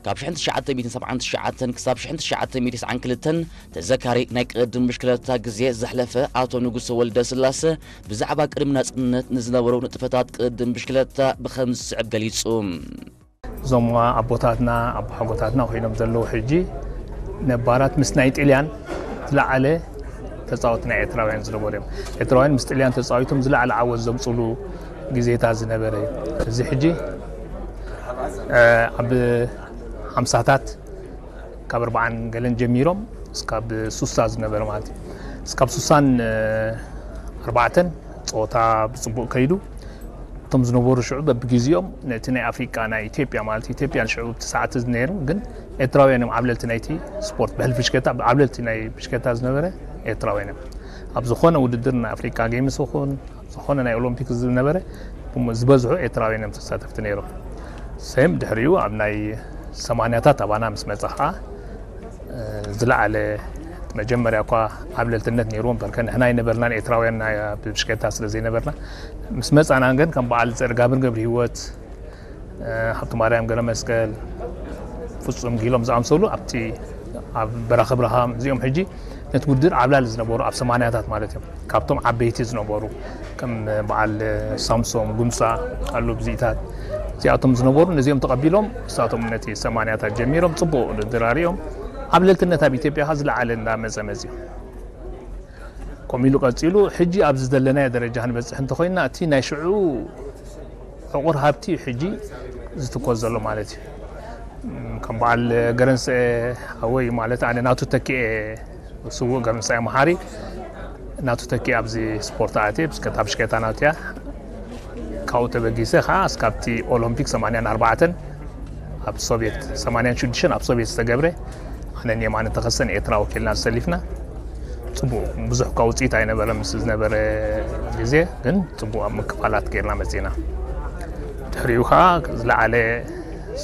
ካብ ሽሕን ትሽዓተ ሚእትን ሰብዓን ትሽዓተን ክሳብ ሽሕን ትሽዓተ ሚእትን ተስዓን ክልተን ተዘካሪ ናይ ቅድድም ብሽክለታ ግዜ ዘሕለፈ ኣቶ ንጉሰ ወልደ ስላሰ፣ ብዛዕባ ቅድሚ ናጽነት ንዝነበሩ ንጥፈታት ቅድድም ብሽክለታ ብኸም ዝስዕብ ገሊጹ። እዞም ኣቦታትና፣ ኣቦሓጎታትና ኮይኖም ዘለዉ ሕጂ ነባራት ምስ ናይ ጥልያን ዝለዓለ ተጻወቲ ናይ ኤርትራውያን ዝነበሩ እዮም። ኤርትራውያን ምስ ጥልያን ተጻዊቶም ዝለዓለ ዓወት ዘምጽሉ ግዜታት ዝነበረ እዩ። እዚ ሕጂ፣ እ፣ ኣብ ሓምሳታት ካብ ኣርባዓን ገለን ጀሚሮም እስካብ ሱሳ ዝነበረ ማለት እዩ። እስካብ ሱሳን፣ እ፣ ኣርባዕተን ጸወታ ብጽቡቕ ከይዱ፣ እቶም ዝነበሩ ሽዑ በብግዜኦም ነቲ ናይ ኣፍሪቃ፣ ናይ ኢትዮጵያ ማለት ኢትዮጵያ ሽዑ እቲ ሰዓት እዚ ነይሩ፣ ግን ኤርትራውያን እዮም ዓብለልቲ ናይቲ ስፖርት፣ ብሕልፊ ብሽክለታ ዓብለልቲ ናይ ብሽክለታ ዝነበረ ኤርትራውያን እዮም። ኣብ ዝኾነ ውድድር ናይ ኣፍሪቃ ጌምስ ይኹን ኣብ ዝኾነ ናይ ኦሎምፒክ ዝነበረ ብም-፣ ዝበዝሑ ኤርትራውያን እዮም ተሳተፍቲ ነይሮም። ሰም ድሕሪኡ ኣብ ናይ ሰማንያታት ኣባና ምስ መጸ ኸዓ፣ እ፣ ዝለዓለ መጀመርያ እኳ ዓብለልትነት ነይርዎ እምበር፣ ከ ንሕና ኣይነበርናን ኤርትራውያን ናይ፣ ብሽክለታ ስለ ዘይነበርና፣ ምስ መጻና ግን ከም በዓል ጸርጋብር ገብረ ህይወት፣ እ፣ ሃብተማርያም ገብረ መስቀል፣ ፍጹም ጊሎም ዝኣምሰሉ ኣብቲ፣ ኣብ በራኺ ብርሃም እዚኦም ሕጂ ነቲ ውድድር ዓብላሊ ዝነበሩ ኣብ ሰማንያታት ማለት እዮም። ካብቶም ዓበይቲ ዝነበሩ ከም በዓል ሳምሶም ጉምሳ፣ ኣሉ ብዚታት እዚኣቶም ዝነበሩ ነዚኦም ተቐቢሎም ንሳቶም ነቲ ሰማንያታት ጀሚሮም ጽቡቕ ውድድር ኣርእዮም። ዓብለልትነት ኣብ ኢትዮጵያ ከ ዝለዓለ እንዳመጸ መጺኡ። ከምኡ ኢሉ ቀጺሉ፣ ሕጂ ኣብዚ ዘለናዮ ደረጃ ክንበጽሕ እንተኾይንና፣ እቲ ናይ ሽዑ ዕቑር ሃብቲ እዩ ሕጂ ዝትኮስ ዘሎ ማለት እዩ። እም፣ ከም በዓል ገረንስኤ ሓወይ ማለት ኣነ ናቱ ተኪኤ፣ ስዉእ ገረንስኤ መሓሪ ናቱ ተኪኤ ኣብዚ ስፖርት ኣትየ፣ ብሽክለታ፣ ብሽክለታ ናቱ እያ። ካብኡ ተበጊሰ ኸዓ እስካብቲ ኦሎምፒክ ሰማንያን ኣርባዕተን ኣብ ሶቪየት፣ ሰማንያን ሽዱሽተን ኣብ ሶቪየት ዝተገብረ፣ ኣነን የማነ ተኸሰን ኤርትራ ወኪልና ዝሰሊፍና። ጽቡቕ፣ ብዙሕ እኳ ውጽኢት ኣይነበረ ምስ ዝነበረ ግዜ፣ ግን ጽቡቕ ኣብ ምክፋላት ጌርና መጺና። ድሕሪኡ ኸዓ ዝለዓለ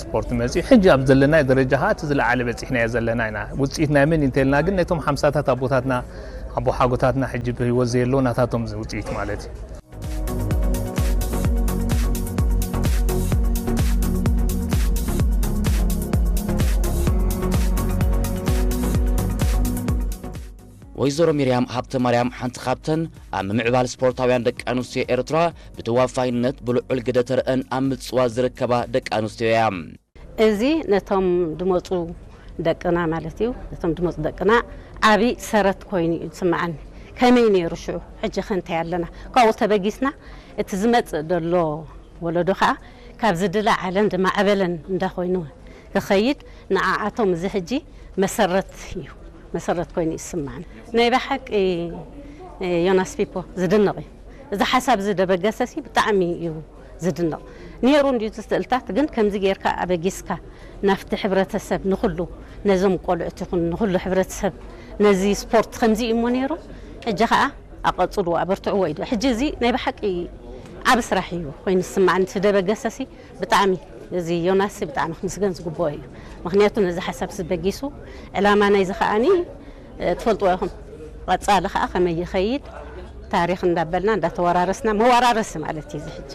ስፖርት መጺኡ፣ ሕጂ ኣብ ዘለናዮ ደረጃ ኸዓ እቲ ዝለዓለ በጺሕናዮ ዘለና ኢና። ውጽኢት ናይ መን እንተልና ግን ነቶም ሓምሳታት ኣቦታትና፣ ኣቦሓጎታትና ሕጂ ብህይወት ዘየለዉ ናታቶም ውጽኢት ማለት እዩ። ወይዘሮ ሚርያም ሃብተ ማርያም ሓንቲ ካብተን ኣብ ምምዕባል ስፖርታውያን ደቂ ኣንስትዮ ኤርትራ ብተዋፋይነት ብልዑል ግደ ተረአን ኣብ ምጽዋት ዝርከባ ደቂ ኣንስትዮ እያ። እዚ ነቶም ድመጹ ደቅና ማለት እዩ፣ ነቶም ድመጹ ደቅና ዓቢ ሰረት ኮይኑ እዩ ዝስምዓኒ። ከመይ ነይሩ ሽዑ፣ ሕጂ ከ እንታይ ኣለና? ካብኡ ተበጊስና እቲ ዝመጽእ ዘሎ ወለዶ ኸኣ ካብ ዝድለ ዓለም ዝማዕበለን እንዳኾይኑ ክኸይድ ንዓዓቶም እዚ ሕጂ መሰረት እዩ፣ መሰረት ኮይኑ ይስማዕኒ። ናይ ብሓቂ ዮናስ ፒፖ ዝድነቕ እዩ። እዚ ሓሳብ እዚ ደበገሰሲ ብጣዕሚ እዩ ዝድነቕ። ነይሩ እንድዩ እቲ ስእልታት፣ ግን ከምዚ ጌርካ ኣበጊስካ ናብቲ ሕብረተሰብ ንኹሉ፣ ነዞም ቆልዑት ይኹን ንኹሉ ሕብረተሰብ ነዚ ስፖርት ከምዚ እዩ እሞ ነይሩ፣ ሕጂ ኸኣ ኣቐጽልዎ፣ ኣበርትዕዎ እዩ። ሕጂ እዚ ናይ ብሓቂ ዓቢ ስራሕ እዩ ኮይኑ ዝስማዕኒ። እቲ ደበገሰሲ ብጣዕሚ፣ እዚ ዮናስ ብጣዕሚ ክምስገን ዝግብኦ እዩ። ምኽንያቱ ነዚ ሓሳብ እዚ በጊሱ፣ ዕላማ ናይዚ ከኣኒ፣ እ፣ ትፈልጥዎ ኢኹም። ቀጻሊ ከኣ ከመይ ይኸይድ፣ ታሪኽ እንዳበልና እንዳተወራረስና፣ መወራረሲ ማለት እዩ እዚ ሕጂ።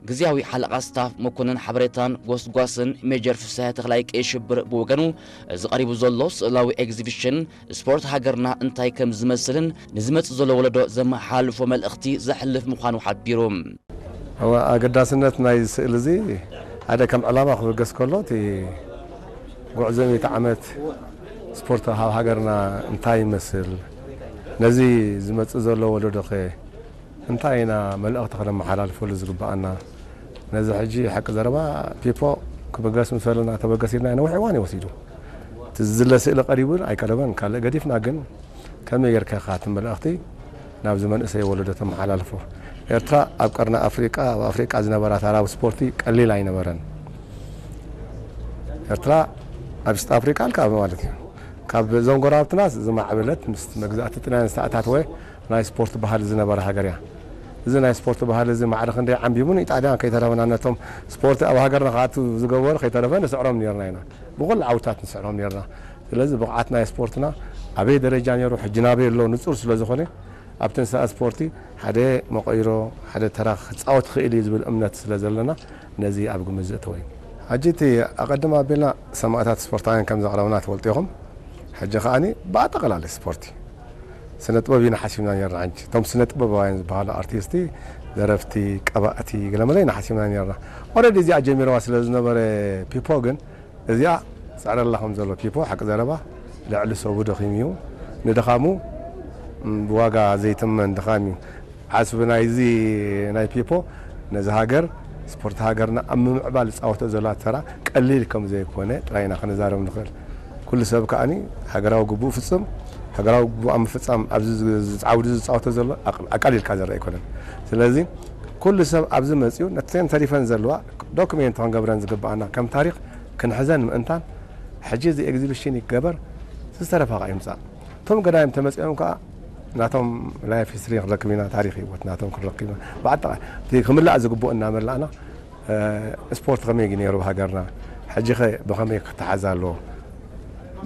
ግዝያዊ ሓለቓ ስታፍ መኮንን ሓበሬታን ጎስጓስን ሜጀር ፍስሃ ተኽላይ ቀይ ሽብር ብወገኑ፣ እዚ ቀሪቡ ዘሎ ስእላዊ ኤግዚቢሽን ስፖርት ሃገርና እንታይ ከም ዝመስልን ንዝመጽእ ዘሎ ወለዶ ዘመሓላልፎ መልእኽቲ ዘሕልፍ ምዃኑ ሓቢሩ። እወ፣ ኣገዳስነት ናይ ስእሊ እዚ ሓደ ከም ዕላማ ክብገስ ከሎ፣ እቲ ጉዕዞ ሚእቲ ዓመት ስፖርት ኣብ ሃገርና እንታይ ይመስል፣ ነዚ ዝመጽእ ዘሎ ወለዶኸ እንታይ ኢና መልእኽቲ ከነመሓላልፈሉ ዝግብኣና? ነዚ ሕጂ ሓቂ ዘረባ ፒፖ ክብገስ ምስ በለና ተበገስ ኢልና ነዊሕ እዋን እዩ ወሲዱ። እቲ ዝድለ ስእሊ ቀሪቡ ኣይቀረበን፣ ካልእ ገዲፍና ግን ከመይ ጌርካ ኢኻ እቲ መልእኽቲ ናብዚ መንእሰይ ወለዶ ተመሓላልፎ? ኤርትራ ኣብ ቀርኒ ኣፍሪቃ፣ ኣብ ኣፍሪቃ ዝነበራ ታራ ስፖርቲ ቀሊል ኣይነበረን። ኤርትራ ኣብ ኢስት ኣፍሪቃ ኣልካ ማለት እዩ። ካብ እዞም ጎረባብትና ዝማዕበለት ምስ መግዛእቲ ጥልያን ዝተኣታተወ ናይ ስፖርት ባህሊ ዝነበረ ሃገር እያ። እዚ ናይ ስፖርት ባህሊ እዚ ማዕረ ክንደይ ዓንቢቡን ኢጣልያን ከይተረፈና ነቶም ስፖርት ኣብ ሃገርና ክኣቱ ዝገበሩ ከይተረፈ ንስዕሮም ነርና ኢና። ብኹሉ ዓውታት ንስዕሮም ነርና። ስለዚ ብቕዓት ናይ ስፖርትና ኣበይ ደረጃ ነይሩ፣ ሕጂ ናበይ ኣሎ ንጹር ስለ ዝኾነ፣ ኣብ ትንሳኤ ስፖርቲ ሓደ መቐይሮ፣ ሓደ ተራ ክጻወት ክእል እዩ ዝብል እምነት ስለ ዘለና፣ ነዚ ኣብ ግምት ዘእተወ እዩ። ሕጂ እቲ ኣቐድም ኣቢልና ሰማእታት ስፖርታውያን ከም ዘቕረብና ትፈልጡ ኢኹም። ሕጂ ከኣኒ ብኣጠቓላሊ ስፖርቲ ስነ ጥበብ ኢና ሓሲብና ነርና። ሕጂ እቶም ስነ ጥበባውያን ዝበሃሉ ኣርቲስቲ፣ ደረፍቲ፣ ቀባእቲ፣ ገለመለ ኢና ሓሲብና ነርና። ኦረዲ እዚኣ ጀሚርዋ ስለ ዝነበረ ፒፖ ግን እዚኣ ጸዕረላ ከም ዘሎ ፒፖ ሓቂ ዘረባ ልዕሊ ሰቡ ደኺሙ እዩ። ንድኻሙ ብዋጋ ዘይትመን ድኻም እዩ። ዓስቢ ናይዚ ናይ ፒፖ ነዚ ሃገር፣ ስፖርት ሃገርና ኣብ ምምዕባል ዝጻወቶ ዘሎ ተራ ቀሊል ከም ዘይኮነ ጥራይ ኢና ክንዛረብ ንኽእል። ኩሉ ሰብ ከኣኒ ሃገራዊ ግቡእ ፍጽም፣ ሃገራዊ ግቡእ ኣብ ምፍጻም ኣብዚ ዝ- ዝ- ዓውዲ ዝጻወቶ ዘሎ ኣቕ- ኣቃሊልካ ዝረአ ኣይኮነን። ስለዚ ኩሉ ሰብ ኣብዚ መጺኡ ነተን ተሪፈን ዘለዋ ዶክሜንት ክንገብረን ዝግባኣና ከም ታሪኽ ክንሕዘን ምእንታን ሕጂ እዚ ኤግዚቢሽን ይገበር፣ ዝተረፈ ኸዓ ይምጻእ። እቶም ገዳይም ተመጺኦም ከኣ ናቶም ላይፍ ሂስትሪ ክንረክብ ኢና፣ ታሪኽ ህይወት ናቶም ክንረክብ ኢና። ብኣጠቓ እቲ ክምላእ ዝግብኦ እናመላእና፣ እ፣ ስፖርት ከመይ ነይሩ ሃገርና፣ ሕጂ ኸ ብኸመይ ክተሓዝ ኣለዎ?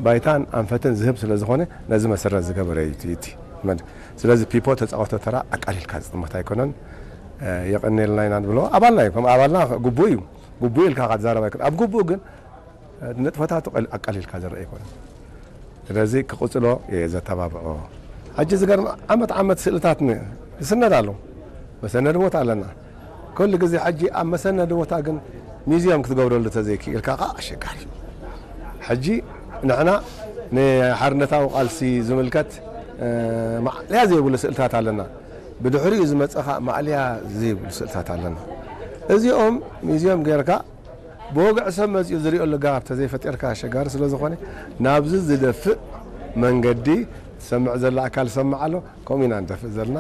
ባይታን ኣንፈትን ዝህብ ስለ ዝኾነ ነዚ መሰረት ዝገበረ እዩ እቲ፣ እቲ መድ-፣ ስለዚ ፒፖ ተጻወቶ ተራ ኣቃሊልካ ዝጥመት ኣይኮነን። እ፣ የቐንየልና ኢና ንብሎ። ኣባልና እዩ፣ ከም ኣባልና ግቡእ እዩ። ግቡእ ኢልካ ክትዛረብ ኣይኮነን። ኣብ ግቡእ ግን ንጥፈታቱ ቀል- ኣቃሊልካ ዝረአ ኣይኮነን። ስለዚ ክቕጽሎ እየ ዘተባብዖ። ሕጂ ዝገርም ዓመት ዓመት ስእልታት ን- ይስነድ ኣሎ። መሰነዲ ቦታ ኣለና። ኩሉ ግዜ ሕጂ ኣብ መሰነዲ ቦታ ግን ሚዝየም ክትገብረሉ ተዘይክኢልካ ከዓ ኣሸጋሪ እዩ። ሕጂ ንሕና ንሓርነታዊ ቃልሲ ዝምልከት እ፣ ማዕልያ ዘይብሉ ስእልታት ኣለና። ብድሕሪኡ ዝመጸ ከዓ ማዕልያ ዘይብሉ ስእልታት ኣለና። እዚኦም ሚዝየም ጌርካ ብወግዒ ሰብ መጺኡ ዝሪኦ ልጋብ ተዘይፈጢርካ ኣሸጋሪ ስለ ዝኾነ ናብዚ ዝደፍእ መንገዲ ትሰምዕ ዘላ ኣካል ሰምዕ ኣሎ። ከምኡ ኢና ንደፍእ ዘለና።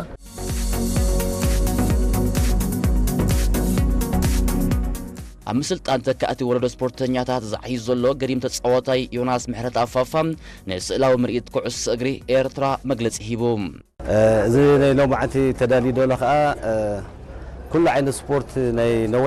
ኣብ ምስልጣን ተካእቲ ወለዶ ስፖርተኛታት ዛዕዩ ዘሎ ገዲም ተጻዋታይ ዮናስ ምሕረት ኣፋፋ ንስእላዊ ምርኢት ኩዕሶ እግሪ ኤርትራ መግለጺ ሂቡ። እዚ ናይ ሎማዓንቲ ተዳልዩ ዘሎ ከዓ ኩሉ ዓይነት ስፖርት ናይ ነዊሕ